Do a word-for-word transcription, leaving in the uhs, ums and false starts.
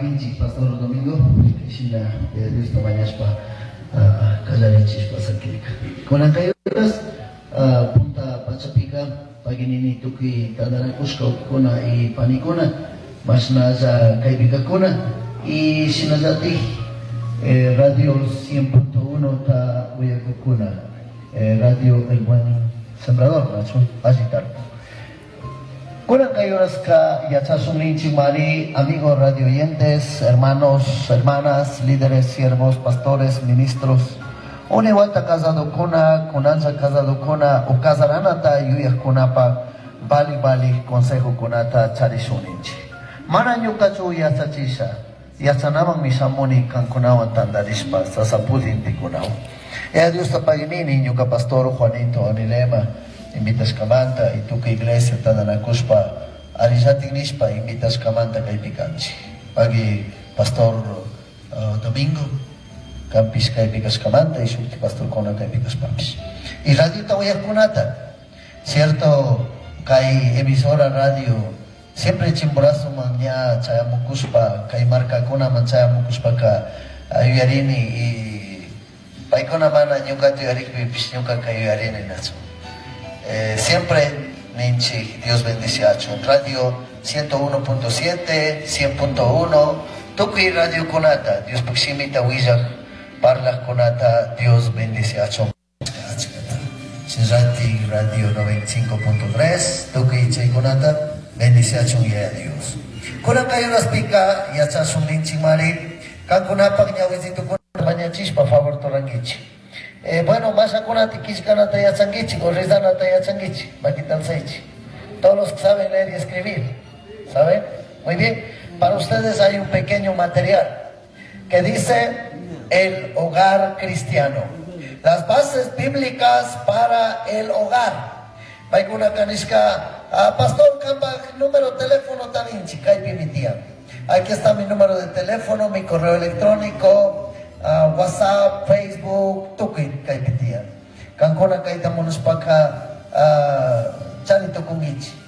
Paginchik Pastor Domingo, shina Diosta mañashpa kallarichishpa sakirka. Kunan kay uras punta pachapika paginini tukuy tantanakushka wawkikuna y panikuna mashnalla kaypikakuna y shinallatik eh, Radio cien punto uno ta uyakukuna, eh, Radio El Buen Sembrador, nachu alli tarde. Kunan kay uraska yachasun ninchik mari, amigos radio oyentes, hermanos, hermanas, líderes, siervos, pastores, ministros. Unay wata casadokuna, kunanlla casadokuna o casaranata yuyajkunapa vali vali consejokunata charishun ninchik. Mana ñukachu yachachisha, yachanamanmi shamuni kankunawan tantarishpa sasapudintikunawan. E Diosta paginini ñuka pastor Juanito Anilema invitashkamanta y tukuy iglesia tantanakushpa arillatik nishpa invitashkamanta kaypi kanchik. Pagui pastor uh, Domingo kanpish kaypi kashkamanta y shukti pastorkuna kaypi kashpapish. Y radiota uyajkunata, cierto, kay emisora radio siempre Chimborazoman ña chayamukushpa, kay markakunaman chayamukushpaka yuyarini y paykuna mana ñukata yuyarikpipish ñukaka yuyarini, nachu. Eh, siempre ninchik Dios bendiciachun. Radio ciento uno punto siete, cien punto uno, tukuy radio kunata, Dios shimita willaj parlaj kunata Dios bendiciachun. Shinllatik Radio noventa y cinco punto tres, tukuy chaykunata bendiciachun Yaya Dios. Kunan kay uraspika yachashun ninchik mari, kankunapak ñawizitukuna mañachishpa favor rurankichik. Eh, bueno, mashakunata killkanata yachankichik o rezanata yachankichik, makita alzaychik. Todos los que saben leer y escribir, ¿saben? Muy bien. Para ustedes hay un pequeño material que dice "El hogar cristiano. Las bases bíblicas para el hogar". Paykuna kanishka, ah, pastor, kampak número teléfono taninchik, kaypimi tiyan. Aquí está mi número de teléfono, mi correo electrónico, uh, WhatsApp, Facebook, tukuy kaypi tiyan. Kankuna kayta munashpaka uh, chari tukunkichik.